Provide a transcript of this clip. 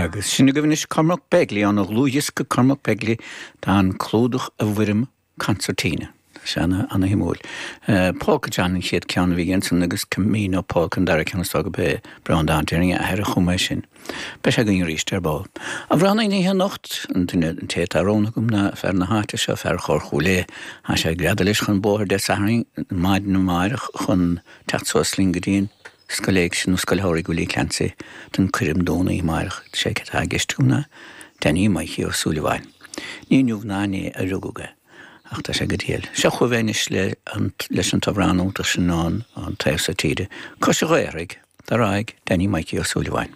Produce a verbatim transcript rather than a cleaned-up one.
Agus sin agaibh anois Cormac Begley óna dhlúthdhiosca Cormac Begley tá an clúdach i bhfoirm concertina. Sé an-shuimiúil. Uh, Polka John an chéad ceann a bhí ansan agus Camino Polka an dara ceann go bé Breandán Déing a athair a chum é sin. Beidh sé againn arís ar ball. Amhránaí na hoíche anocht an duine an té atá roghnaithe agam ná fear na háite seo fear Chorr Chúil Aodha. Tá sé ag greadadh leis chun bóthair Dé Sathairn maidin amárach chun teacht suas linn go dtí an scoil éigse nó Scoil Shamhraidh Willie Clancy don coirm dúnadh amárach sé atá i gceist ná Danny Mikey Ó Súilleabháin. Ní inniu ná inné a rugadh é. ach tá sé go diail. Seo chugaibh anois le leis an t-amhrán iontach sin an an taobh seo tíre. Cois an Ghaorthaidh, ar aghaidh Danny Mikey Ó Súilleabháin.